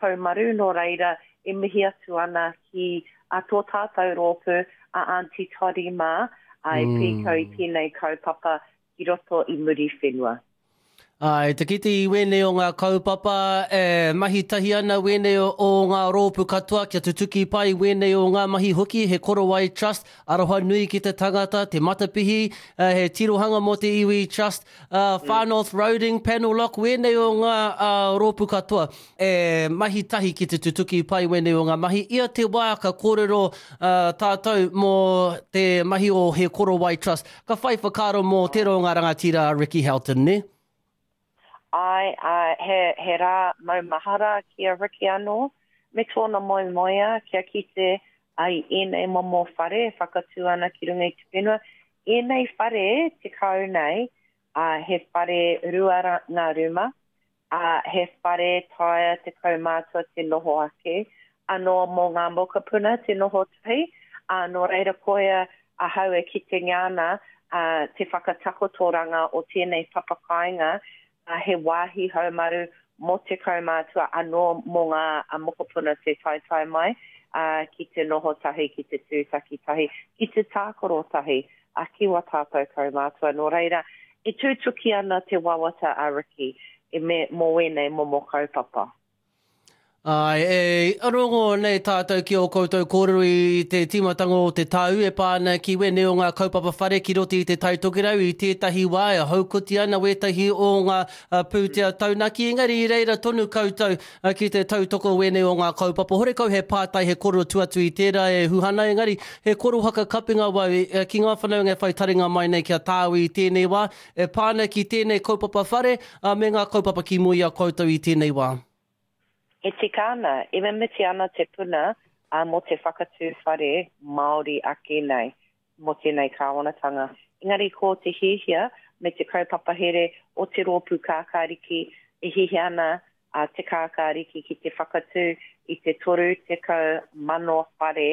haumaru, nō reira e mihi atu ana ki a tō tātou rōpū a Aunty Toddy mā, ā, e pīkau i tēnei kaupapa ki roto i Muriwhenua. Āe, te kite i wēnei o ngā kaupapa, e mahi tahi ana wēnei o ngā rōpū katoa kia tutuki pai wēnei o ngā mahi hoki, he Korowai Trust, aroha nui ki te tangata, te matapihi, he tirohanga mō te iwi Trust, Far North Roading, Panel Lock, wēnei o ngā rōpū katoa e mahi tahi ki te tutuki pai wēnei o ngā mahi. Ia te wā ka kōrero tātou mō te mahi o He Korowai Trust, Ka whai whakaaro mō tērā o ngā rangatira a Ricky Houghton, nē? Āe, āe, he, he rā maumahara ki a Ricky anō, me tōna moemoeā kia kite ai ēnei momo whare e whakatū ana ki runga i te whenua. Ēnei whare 10 nei, ā, he whare rua ngā rūma, ā, he whare taea te kaumātua te noho ake, anō mō ngā mokopuna te noho tahi, ā, nō reira koia ahau e kitengia ana, ā, te whakatakotoranga o tēnei papakāinga, ā, he wāhi haumaru mō te kaumātua anō mō ngā mokopuna te taetae mai, ā, ki te noho tahi, ki te tūtaki tahi, ki te tākaro tahi, a ki wā tātou kaumātua. Nō reira, e tūtuki ana te wawata a Ricky e me, mō ēnei momo kaupapa. Āe, e rongo nei tātou ki ō koutou kōrero i te tīmatanga o te tau e pā ana ki wēnei o ngā kaupapa whare ki roto i Te Tai Tokerau i tētahi wā e haukoti ana wētahi o ngā pūtea taunaki, engari i reira tonu koutou Ki te tautoko wēnei o ngā kaupapa, horekau he pātai, he kōrero tu atu i tērā e Huhana, engari he kōrero whakakapinga wau ki ngā whanaunga e whai taringa mai nei ki a tāu i tēnei wā, e pā ana ki tēnei kaupapa whare, ā, me ngā kaupapa ki mua i a koutou i tēnei wā. E tika ana, e mimiti ana te puna mō te whakatū whare Māori ake nei. mō tēnei kāwanatanga. Engari ko te hiahia me te kaupapa here o te Rōpū Kākāriki e hiahia ana a Te Kākāriki ki te whakatū i te 30,000 whare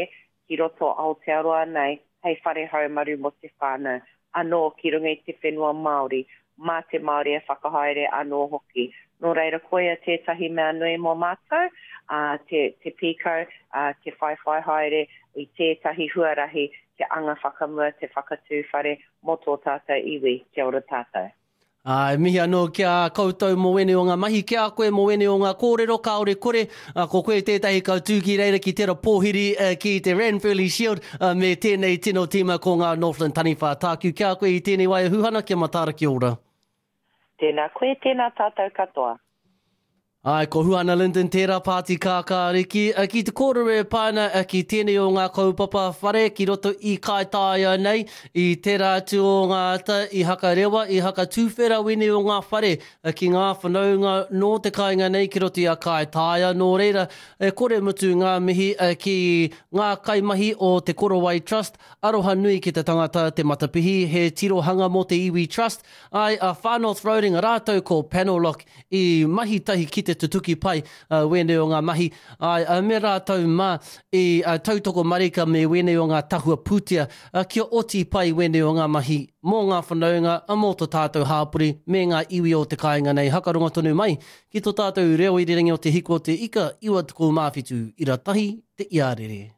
ki roto Aotearoa nei hei whare haumaru mō te whānau, anō ki runga i te whenua Māori, mā te Māori e whakahaere anō hoki. Nō reira, koia tētahi mea nui mō mātou, ā, te, te pīkau, ā, te whaiwhai haere i tētahi huarahi kia anga whakamua te whakatū whare mō tō tātou iwi. Kia ora tātou. Ā, e mihi anō ki a koutou mō wēnei o ngā mahi, ki a koe mō wēnei o ngā kōrero, kāore kore, ā, ko koe tētahi ka tū ki reira ki tera pōhiri ki te Ranfurly Shield, ā, me tēnei tino tīma ko ngā Northland Taniwha. Tāku ki a koe i tēnei wā e Huhana, kia mataara kia ora. Tēnā koe, tēnā tātou katoa. Āe, ko Huana Lyndon tērā pāti kākāriki, ki te kōrero e pā ana ki tēnei o ngā kaupapa whare ki roto i Kaitaia nei, i tērā atu o ngā ata i hakarewa, i hakatūwhera wēnei o ngā whare ki ngā whanaunga nō te kāinga nei ki roto i a Kaitaia. Nō reira, e kore mutu ngā mihi ki ngā kaimahi o Te Korowai Trust, aroha nui ki te tangata, te matapihi, he tirohanga mō te iwi Trust, āe, a Far North Roading rātou ko Panelock i mahi tahi ki te tutuki pai wēnei o ngā mahi, āe, me rātou mā i tautoko marika me wēnei o ngā tahua pūtea kia oti pai wēnei o ngā mahi mō ngā whanaunga, mō to tātou hāpori me ngā iwi o te kāinga nei. Hakarongo tonu mai ki to tātou reo irirangi o Te Hiku o Te Ika 97 ira tahi te iarere.